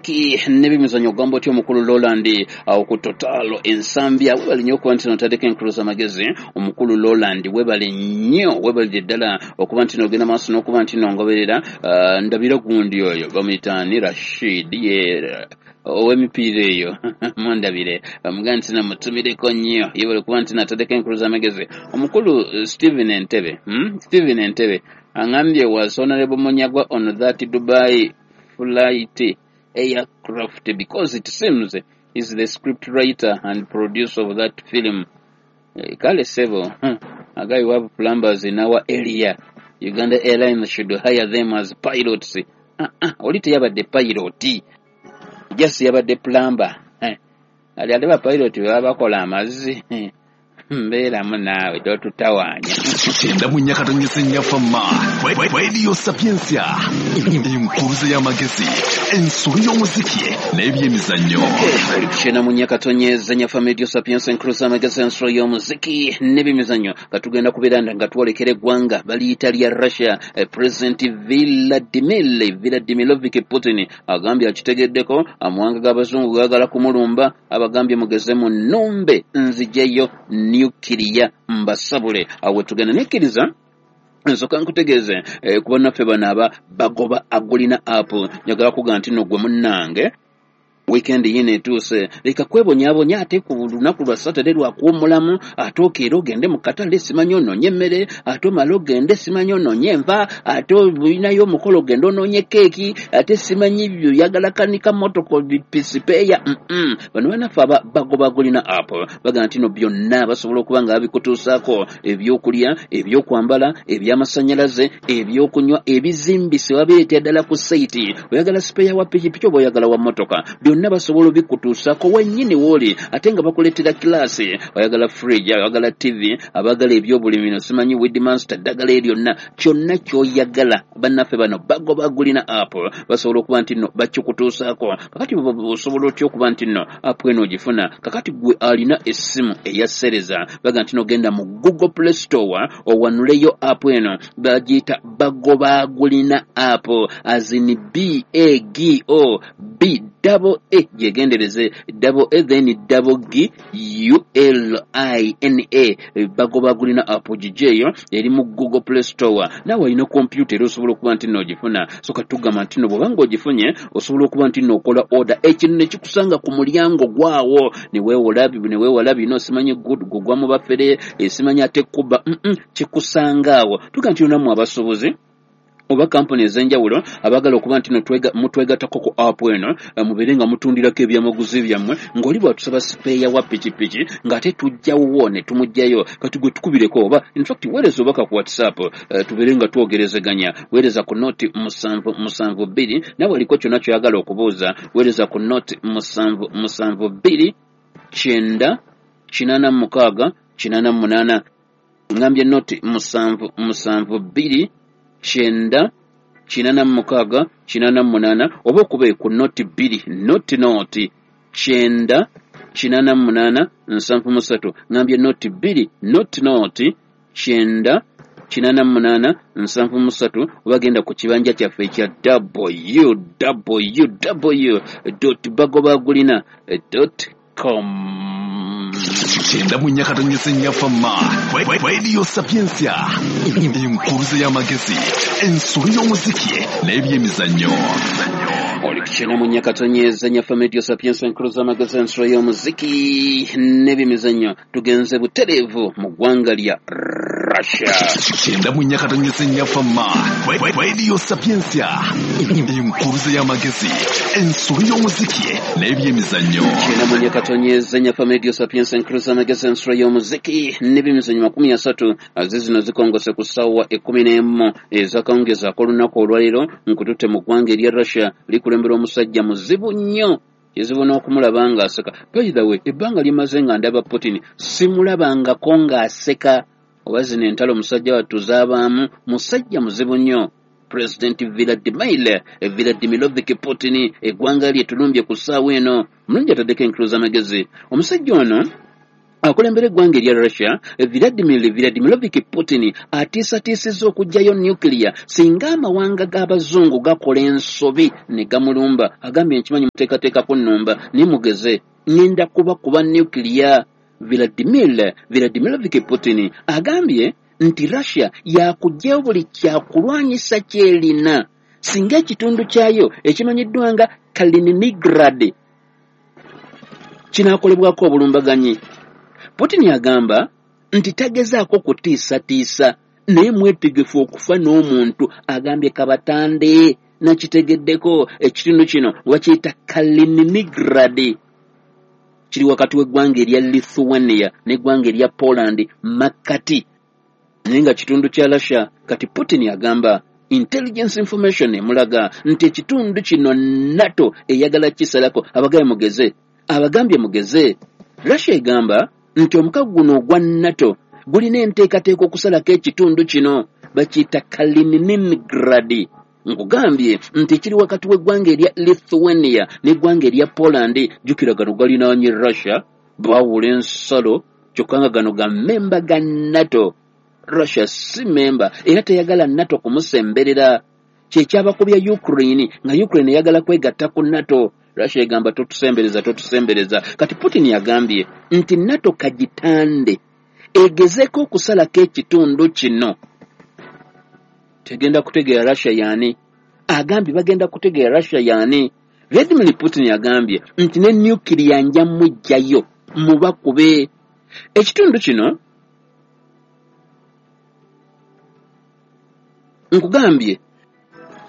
N'ebyemizannyo, ogamba otya omukulu Roland awo ku Total Ensambya? Webale nnyo okuba nti notaddeko enkulu z'amagezi. Omukulu Roland, webale nnyo, webalire ddala okuba nti nogenda maaso n'okuba nti nongoberera. Ndabira gundi oyo bamuyitaani Rashid ye ow'emipiira eyo, mundabire mugaa nti namutumireko nnyo. Yebale kuba nti nataddeko enkulu z'amagezi. Omukulu Stephen Entebe, Stephen Entebe aŋambye, "Was Honorable Munyagwa on that Dubai flight aircraft? Because it seems he's the script writer and producer of that film." Kale sebo, agayi, "We have plumbers in our area. Uganda Airlines should hire them as pilots." Oli teyabadde pilot, just yabadde plumber. Ali ate bapilot bwe baba bakola amazzi. Mbeeramu naawe, totutawaanya. 94.4 Fama Radio Sapiensia, enkuruze y'amagezi, ensolo y'omuziki n'ebyemizannyo. Oli 94.4 Fama Radio Sapiensia, enkuruze y'amagezi, ensolo y'omuziki n'ebyemizannyo. Nga tugenda kubeera nga twolekera eggwanga baliyita lya Russia. President Vladimir Vladimirovich Putin agambye akitegeddeko amawanga g'abazungu gaagala kumulumba. Abagambye, "Mugeze mu nnumbe, nzijeyo nukiriya mbasabule." Awo tugenda nekkiriza nsooka nkutegeeze kuba naffe bano aba bagoba agulina app. Njagala kuga nti no gwe munnange, weekend yino etuuse, leka kwebonyaabonya ate ku lunaku lwa Saturday lwakuwummulamu, ate okeera ogende mu katale, simanyi onoonye emmere, ate omale ogende, simanyi onoonye enva, ate olinayo omukolo ogende onoonye keeki, ate simanyi oyagala kanika motoko spare. Bano banaffe aba bagoba gulina app baga nti no byonna basobola okuba nga babikutuusaako: ebyokulya, ebyokwambala, ebyamasanyalaze, ebyokunywa, ebizimbise, babireetera ddala ku site. Oyagala spare wa pikipiki oba oyagala wa motoka, byonna basobola obikutuusaako wennyini wooli, ate nga bakuleetera kilaasi. Oyagala fridge, oyagala TV, abaagala ebyobulimi, no simanyi weedmaster, ddagala eryonna, kyonna ky'oyagala, bannaffe bano bagoba gulina app basobola okuba nti nno bakikutuusaako. Kakati osobola otya okuba nti nno app eno ogifuna? Kakati gwe alina essimu eya sereza, baga nti nogenda mu Google Play Store owanuleyo app eno, bagiyita Bagoba Gulina app, as in B A G O B double A, gyegendereze, double A then double G U L I N A, Bagoba Gulina app. Gijeeyo, eri mu Google Play Store. Naawe olina kompyuta era osobola okuba nti nno ogifuna. So katugamba nti nno bw'obanga ogifunye, osobola okuba nti nno okola order, ekintu ne kikusanga ku mulyango gwawo, ne weewala bino simanyi gugwa mu bafere, simanyi ate kuba kikusanga awo. Tuga nti nammwe abasuubuzi oba kampuni ez'enjawulo abaagala okuba nti no mutwegattako ku app eno, mubeere nga mutundirako ebyamaguzi byammwe, ng'oli bw'atusaba spare wa pikipiki ng'ate tujjawo ne tumugjayo. Kati gwe tukubireko, oba infact weereza obubaka ku WhatsApp, tubeere nga twogerezeganya. Weereza ku 0772, nawe oliko kyonna ky'oyagala okubuuza, weereza ku 0772 9 86 88. Ngambye 0772 9 86 88, oba okube ku 0 2 0 0 9 88 73. Ngambye 0 2 0 0 9 88 73, oba genda ku kibanja kyaffe ekya www.bagobagulina.com. 94.4 Fama Radio Sapiensia, enkuruze y'amagezi, ensolo y'omuziki n'ebyemizannyo. Oli 94.4 Fama Radio Sapiensia, enkulu z'amagezi, ensolo y'omuziki n'ebyemizannyo. Tugenze butereevu mu ggwanga lya Russia. 94.4 Fama Radio Sapiensia, enkuruze y'amagezi, ensolo y'omuziki n'ebyemizannyo. 94.4 Fama Radio Sapiensia, enkulu z'amagezi, ensolo y'omuziki n'ebyemizannyo. 30 ze zino zikongose ku ssaawa 11 ezakawungeezi ak'olunaku olwaleero. Nkututte mu ggwanga erya Russia, likulembera omusajja muzibu nnyo, kizibu n'okumulaba ng'aseka. By the way, ebbanga limaze nga ndaba Putin, simulabangako ng'aseka. Oba zino entalo omusajja wattu zaabaamu. Musajja muzibu nnyo, President Vladimir Vladimirovich Putin. Eggwanga lye tulumbye ku ssaawa eno. Mulungi ataddeko enkulu z'amagezi. Omusajja ono Akulembera eggwanga erya Russia, Vladimir Vladimirovich Putin, atiisatiisizza okuggyayo nuclear singa amawanga g'abazungu gakola ensobi ne gamulumba. Agambye nkimanyi muteekateeka kunnumba, naye mugeze, ŋŋenda kubakuba nuclear. Vladimir Vladimirovich Putin agambye nti Russia yakuggyayo buli kyakulwanyisa ky'erina singa ekitundu kyayo ekimanyiddwa nga Kaliningrad kinaakolebwako obulumbaganyi. Putin agamba nti tagezaako kutiisatiisa, naye mwetegefu okufa n'omuntu. Agambye kabatande nakitegeddeko ekitundu kino bakiyita Kaliningrad, kiri wakati w'eggwanga erya Lithuania n'eggwanga erya Poland makkati, naye nga kitundu kya Russia. Kati Putin agamba intelligence information emulaga nti ekitundu kino NATO eyagala kisalako. Abagambye mugeze, abagambye mugeze. Russia egamba nti omukago guno ogwa NATO gulina enteekateeka okusalako ekitundu kino bakiyita Kaliningrad. Nkugambye nti kiri wakati w'eggwanga erya Lithuania n'eggwanga erya Poland. Jjukira gano galinaanye Russia, baawula ensalo, kyokka nga gano ga memba ga NATO. Russia si memba era teyagala NATO kumusemberera. Kyekyabakubya Ukraine, nga Ukraine eyagala kwegatta ku NATO. Russia egamba totusembereza, totusembereza. Kati Putin yagambye nti NATO kagitande egezeeko okusalako ekitundu kino, tegenda kutegeera Russia yaani. Agambye bagenda kutegeera Russia yaani. Vladimir Putin agambye nti ne nuclear nja muggyayo mubakube. Ekitundu kino nkugambye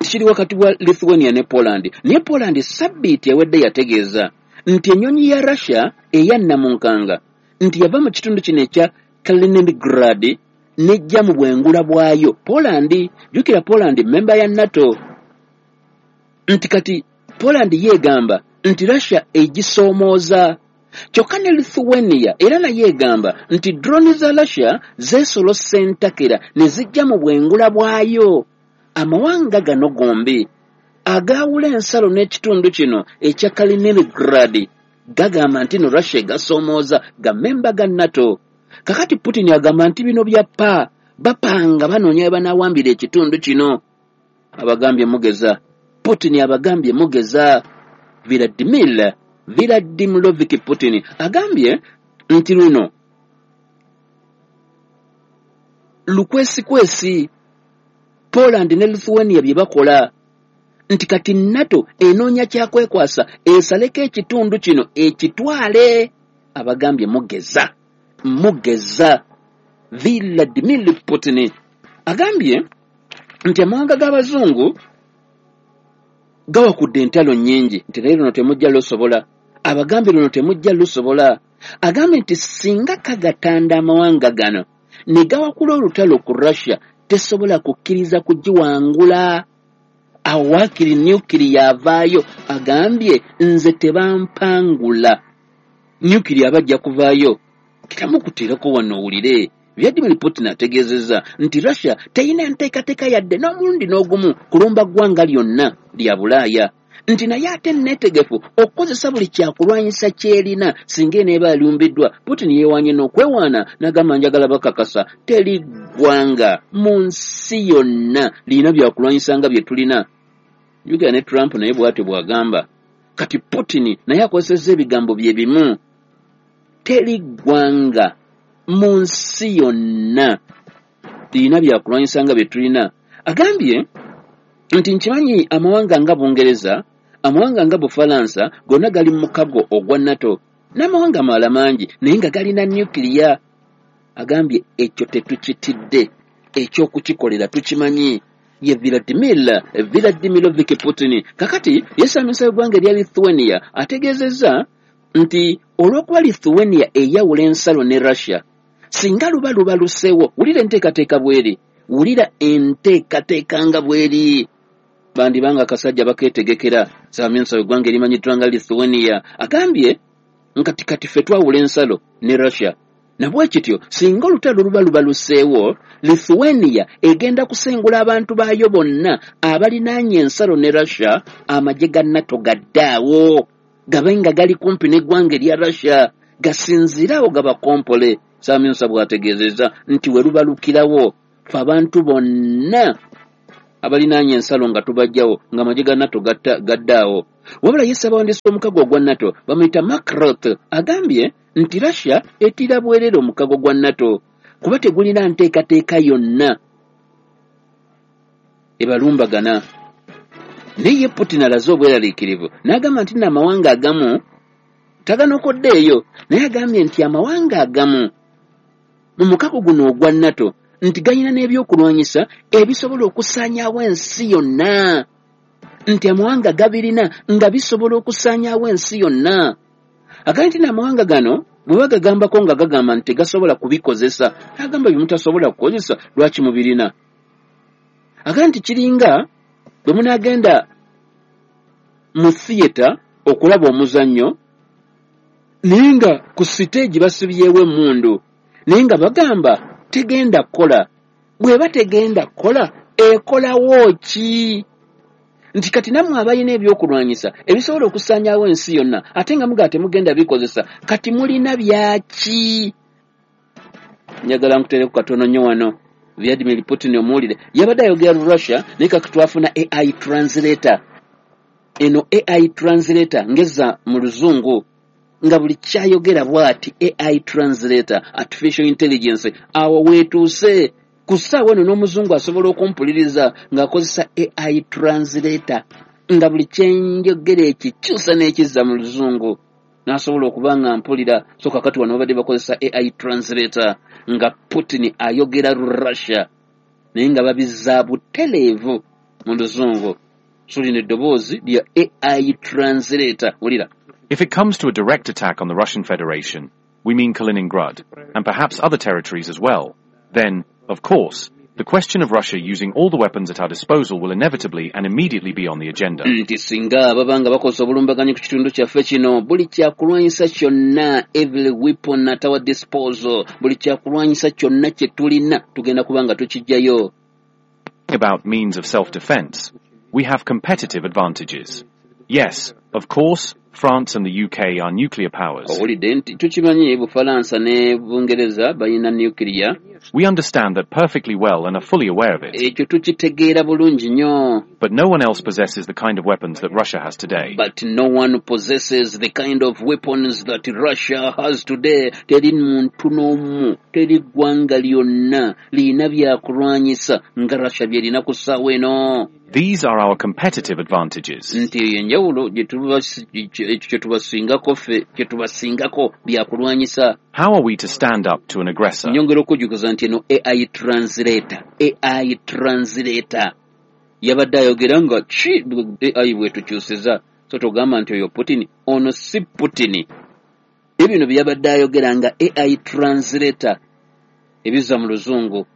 kiri wakati wa Lithuania ne Poland. Naye Poland sabbiiti ewedde yategeeza nti ennyonyi ya Russia eya Namunkanga nti yava mu kitundu kino ekya Kaliningrad n'ejja mu bwengula bwayo. Poland, jjukira Poland memba ya NATO, nti kati Poland yeegamba nti Russia egisoomooza. Kyokka ne Lithuania era naye egamba nti drone za Russia zeesolossa entakera ne zijja mu bwengula bwayo. Amawanga gano gombi agaawula ensalo n'ekitundu kino ekya Kaliningrad gagamba nti no Russia egasoomooza, ga memba ga NATO. Kakati Putin agamba nti bino bya pa bapanga banoonya we banaawambira ekitundu kino. Abagambye mugeza, Putin abagambye mugeza. Vladimir Vladimirovich Putin agambye nti luno lukwesikwesi Poland ne Lithuania bye bakola, nti kati NATO enoonya kyakwekwasa esaleko ekitundu kino ekitwale. Abagambye mugeza, mugeza. Vladimir Putin agambye nti amawanga g'abazungu gawakudde entalo nnyingi, nti naye luno temujja lusobola. Abagambye luno temujja lusobola. Agambye nti singa kagatanda amawanga gano ne gawakula olutalo ku Russia, tesobola kukkiriza kugiwangula. Awo waakiri nuclear avaayo. Agambye nze tebampangula, nuclear abajja kuvaayo. Kitamukuteerako wano owulire. Vladimir Putin ategeezezza nti Russia teyina nteekateeka yadde n'omulundi n'ogumu kulumba ggwanga lyonna lya Bulaaya, nti naye ate neetegefu okukozesa buli kyakulwanyisa ky'erina singa eneeba alumbiddwa. Putin yeewaanye n'okwewaana n'agamba njagala bakakasa teri ggwanga mu nsi yonna lirina byakulwanyisa nga bye tulina. Jjukira ne Trump naye bw'atyo bw'agamba. Kati Putin naye akozesezza ebigambo bye bimu, teri ggwanga mu nsi yonna lirina byakulwanyisa nga bye tulina. Agambye nti nkimanyi amawanga nga Bungereza, amawanga nga Bufalansa gonna gali mu mukago ogwa NATO n'amawanga amalala mangi, naye nga galina nuclear. Agambye ekyo tetukitidde, ekyokukikolera tukimanyi. Ye Vladimir Vladimirovich Putin. Kakati yesamisa eggwanga erya Lithuania ategeezezza nti olw'okuba Lithuania eyawula ensalo ne Russia, singa luba lubaluseewo, wulira enteekateeka bw'eri, wulira enteekateeka nga bw'eri, bandibanga akasajja bakeetegekera. Ssaabaminisita w'eggwanga erimanyiddwa nga Lithuania agambye nkati kati ffe twawula ensalo ne Russia, na bwe kityo singa olutalo luba lubaluseewo, Lithuania egenda kusengula abantu baayo bonna abalinaanye ensalo ne Russia, amagye ga NATO gaddaawo gabe nga gali kumpi n'eggwanga erya Russia. Gasinziire awo gabakompole. Ssaabaminisita bw'ategeezezza nti we lubalukirawo ffe abantu bonna abalinaanye ensalo nga tubajjawo ng'amagye ga NATO gaddaawo. Wabula ye ssabawandiisi w'omukago ogwa NATO bamuyita Mark Rutte agambye nti Russia etiira bwerere omukago gwa NATO kuba tegulina nteekateeka yonna ebalumbagana. Naye ye Putin alaze obweraliikirivu n'agamba nti nno amawanga agamu taganokoddeeyo, naye agambye nti amawanga agamu mu mukago guno ogwa NATO nti galina n'ebyokulwanyisa ebisobola okusaanyaawo ensi yonna, nti amawanga gabirina nga bisobola okusaanyaawo ensi yonna. Agambye nti n'amawanga gano bwe bagagambako nga gagamba nti tegasobola kubikozesa, agamba bye mutasobola kukozesa lwaki mubirina. Agambye nti kiringa bwe munaagenda mu theatre okulaba omuzannyo naye nga ku siteegi basibyewo emmundu, naye nga bagamba tegenda kukola. Bw'eba tegenda kukola ekolawo ki? Nti kati nammwe abalina ebyokulwanyisa ebisobola okusaanyaawo ensi yonna ate nga mugaa temugenda bikozesa, kati mulina byaki? Njagala nkuteereko katono nnyo wano. Vladimir Putin omuwulire yabadde ayogera Russia, naye kati twafuna AI translator. Eno AI translator ngezza mu luzungu nga buli kyayogera bw'ati AI translator, artificial intelligence. Awo weetuuse ku ssaawa eno n'omuzungu asobola okumpuliriza ng'akozesa AI translator, nga buli kyenjogera ekikyusa n'ekizza mu luzungu n'asobola okuba nga mpulira. So kakati wano babadde bakozesa AI translator nga Putin ayogera Russia naye nga babizza butereevu mu luzungu. So lino eddoboozi lya AI translator, wulira. If it comes to a direct attack on the Russian Federation, we mean Kaliningrad, and perhaps other territories as well, then, of course, the question of Russia using all the weapons at our disposal will inevitably and immediately be on the agenda. Nti singa baba nga bakozesa obulumbaganyi ku kitundu kyaffe kino, buli kyakulwanyisa kyonna, every weapon at our disposal, buli kyakulwanyisa kyonna kye tulina tugenda kuba nga tukiggyayo. About means of self-defense, we have competitive advantages. Yes, of course, France and the UK are nuclear powers. Owulidde nti tukimanyi Bufalansa ne Bungereza balina nuclear. We understand that perfectly well and are fully aware of it. Ekyo tukitegeera bulungi nnyo. But no one else possesses the kind of weapons that Russia has today. But no one possesses the kind of weapons that Russia has today. Teri muntu n'omu, teri ggwanga lyonna lirina byakulwanyisa nga Russia byerina ku ssaawa eno. These are our competitive advantages. Nti eyo enjawulo ekyo kye tubasingako ffe, kye tubasingako byakulwanyisa. How are we to stand up to an aggressor? Nyongera okujjukiza nti eno AI translator, AI translator yabadde ayogera nga ki AI bwetukyusiza. So togamba nti oyo Putin, ono si Putin. Ebino bye yabadde ayogera nga AI translator ebizza mu luzungu.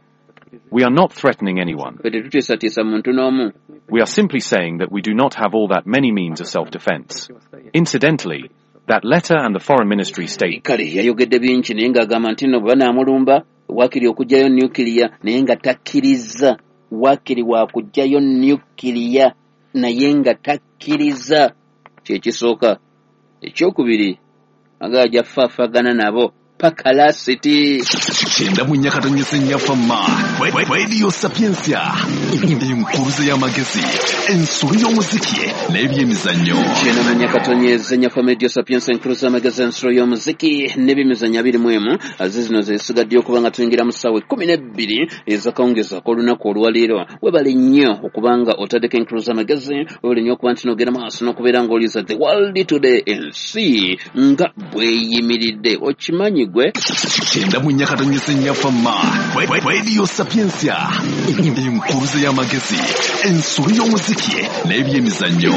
We are not threatening anyone. Ffe tetutiisatiisa muntu n'omu. We are simply saying that we do not have all that many means of self-defense. Incidentally, that letter and the foreign ministry state Kale yayogedde bingi naye ng'agamba nti nno bwe banaamulumba waakiri okuggyayo nuclear, naye nga takkiriza. Waakiri waakuggyayo nuclear naye nga takkiriza. Kye kisooka. Ekyokubiri, agajja faafagana nabo paka lasiti. 94.4 Fama Radio Sapientia, enkuruze y'amagezi, ensolo y'omuziki n'ebyemizannyo. 94.4 Fama Radio Sapientia, enkuruze y'amagezi, ensolo y'omuziki n'ebyemizannyo 21. Aze zino zesigaddeyo okuba nga tuyingira mu ssaawa 12 ez'akawungeezi ak'olunaku olwaleero. Webale nnyo okuba nga otaddeko enkuruze y'amagezi, webale nnyo okuba nti n'ogenda maaso n'okubeera ng'oliza The World Today, ensi nga bweyimiridde. Okimanyi gwe? 94.4 Fama Radio Sapientia, enkuruze y'amagezi, ensolo y'omuziki n'ebyemizannyo.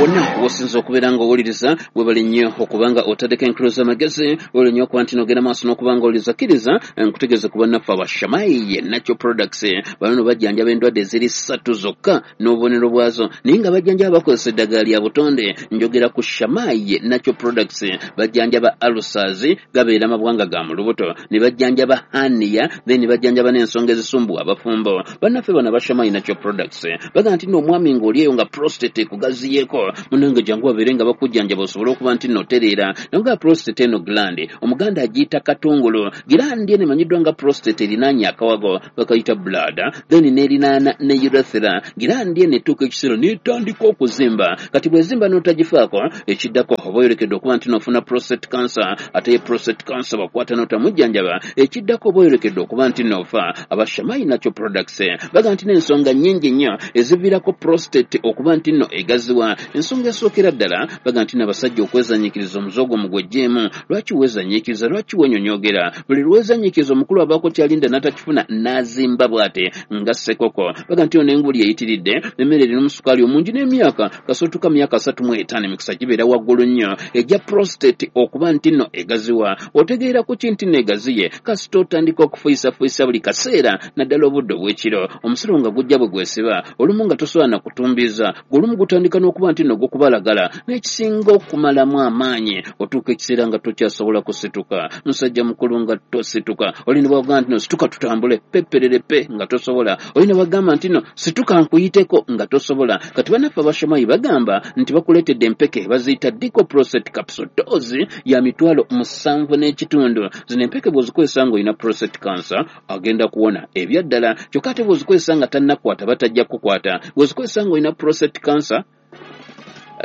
Wonna wosinza okubeera ng'owuliriza, webale nnyo okuba nga otaddeko enkuruze y'amagezi, webale nnyo okuba nti n'ogenda maaso n'okuba ng'owuliriza. Kkiriza nkutegeeze ku bannaffe abashamayi Natural Products. Bano bajjanjaba endwadde eziri 3 zokka n'obubonero bwazo, naye nga bajjanjaba bakozesa eddagala lya butonde. Njogera ku Shamayi Natural Products. Bajjanjaba ulcers, gabeera mabwa N'amawanga ga mu lubuto, ne bajjanjaba hernia, then ne bajjanjaba n'ensonga ezisumbuwa abafumbo. Bannaffe bano abashamai Natural Products bagamba nti nno omwami ng'oli eyo nga prostate ekugaziyeeko, munnange jangu babeere nga bakujjanjaba osobole okuba nti nno otereera. Naye nga prostate eno gland, Omuganda agiyita katungulu. Gland eno emanyiddwa nga prostate erinaanye akawago bakayita bladder, then n'erinaana ne urethra. Gland eno etuuka ekiseera n'etandika okuzimba. Kati bw'ezimba n'otagifaako, ekiddako oba oyolekedde okuba nti n'ofuna prostate cancer. Ate ye prostate cancer bw'akwata n'otamujjanjaba, ekiddako oba oyolekedde okuba nti n'ofa. Abashamai Natural Products bagamba nti n'ensonga nnyingi nnyo eziviirako prostate okuba nti nno egaziwa. Ensonga esookera ddala, bagamba nti n'abasajja okwezanyiikiriza omuze ogwo mugweggyemu. Lwaki weezanyiikiriza? Lwaki wenyonyogera? Buli lwezanyiikiriza omukulu abaako kyalinda n'atakifuna n'azimba bw'ate nga ssekoko. Bagamba nti ono n'enguli eyitiridde, emmere erina omusukaali omungi n'emyaka kasootuka myaka 35, emikisa gibeera waggulu nnyo ejja prostate okuba nti nno egaziwa. Otegeera ku ki nti nno egaziye? Kasita otandika okufuyisafuyisa buli kaseera, naddala obudde obw'ekiro, omusolo nga gujja bwe gwesiba, olumu nga tosobola na kutumbiiza, ng'olumu gutandika n'okuba nti nno gukubalagala. N'ekisinga okumalamu amaanyi, otuuka ekiseera nga tokyasobola kusituka. Musajja mukulu nga tosituka. Oli ne bwagamba nti no situka tutambule, peperere pe, nga tosobola. Oli ne bwagamba nti no situka nkuyiteko, nga tosobola. Kati bannaffe abashomayi bagamba nti bakuleetedde empeke baziyita Dico Prostate Capsule, dose ya 7500. Zino empeke bw'ozikozesa ng'olina prostate cancer, agenda kuwona ebyaddala. Kyokka ate bw'ozikozesa nga tannakwata, batajja kukwata. Bw'ozikozesa ng'olina prostate cancer,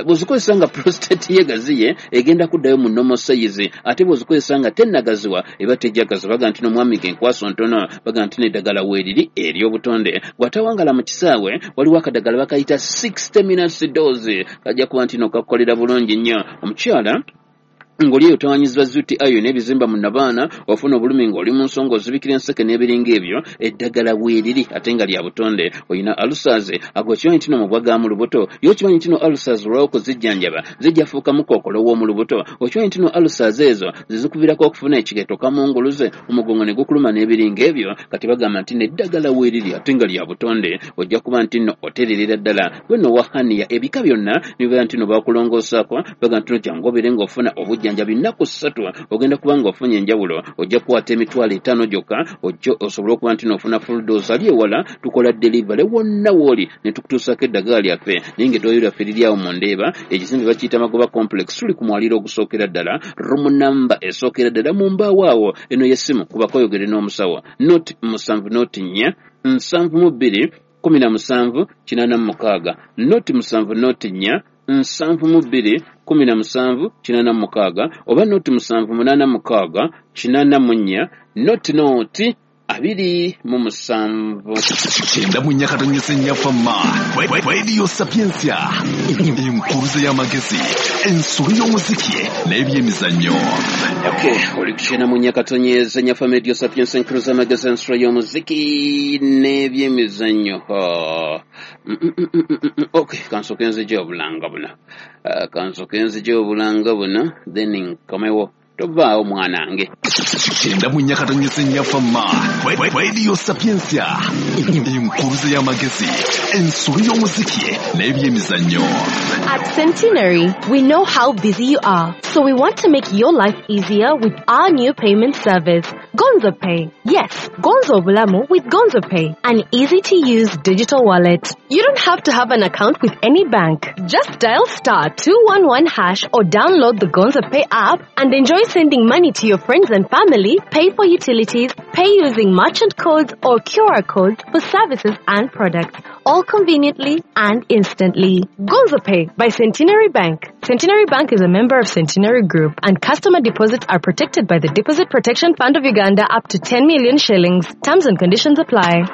bw'ozikozesa nga prostate ye gaziye, egenda kuddayo mu normal size. Ate bw'ozikozesa nga tennagaziwa, eba tejjagaza. Bagamba nti n'omwami genkwaso ntono, bagamba nti n'eddagala weeriri ery'obutonde. Bw'atawangala mu kisaawe, waliwo akadagala bakayita 60 minutes dose, kajja kuba nti no kakukolera bulungi nnyo. Omukyala ng'oli eyo otawanyizibwa zuti ayo n'ebizimba mu nabaana, ofuna obulumi ng'oli mu nsonga, ozibikira enseke n'ebiringa ebyo, eddagala weeriri ate nga lya butonde. Olina ulcers, ago okimanyi nti no mubwa ga mu lubuto? Ye okimanyi nti no ulcers olwawo okuzijjanjaba zijja fuukamu kookolo w'omu lubuto? Okimanyi nti no ulcers ezo zizikuviirako okufuna ekikeeto, kamunguluze, omugongo ne gukuluma n'ebiringa ebyo? Kati bagamba nti n'eddagala weeriri ate nga lya butonde, ojja kuba nti nno otererera ddala. Gwe nno wa hernia, ebika byonna nibibeera nti no bakulongoosaako, bagamba nti no jangu obeere ng'ofuna obujjanjabi nnaku 3, ogenda kuba ng'ofunye enjawulo. Ojja kukwata 500,000 gyokka, ojja osobole okuba nti n'ofuna full dose. Ali ewala tukola delivery wonna w'oli ne tukutuusaako eddagala lyaffe. Naye ng'eddwaliro lyaffe liri awo mu Ndeeba, ekizimbe bakiyita Magoba Complex, tuli ku mwaliiro ogusookera ddala, room number esookera ddala mu mbaawo awo. Eno y'essimu, kubako oyogere n'omusawo: 0 7 0 4 72 17 86, 0 7 0 4 72 17 86, oba 0 7 8 6 84 0 0 27. 94.4 Fama Radio Sapientia, enkuruze y'amagezi, ensolo y'omuziki n'ebyemizannyo. Okay, oli ku 94.4 Fama Radio Sapientia, enkuruze y'amagezi, ensolo y'omuziki n'ebyemizannyo. Okay, kansooke nzije obulanga buno. Kansooke nzije obulanga buno, then nkomewo. Tovaawo mwanange. 94.4 Fama Radio Sapientia, enkuruze y'amagezi, ensolo y'omuziki n'ebyemizannyo. At Centenary, we know how busy you are, so we want to make your life easier with our new payment service, Gonzo Pay. Yes, Gonzo Bulamu with Gonzo Pay, an easy-to-use digital wallet. You don't have to have an account with any bank. Just dial *211# or download the Gonzo Pay app and enjoy sending money to your friends and family, pay for utilities, pay using merchant codes or QR codes for services and products, all conveniently and instantly. Gonzo Pay by Centenary Bank. Centenary Bank is a member of Centenary Group, and customer deposits are protected by the Deposit Protection Fund of Uganda up to 10 million shillings. Terms and conditions apply.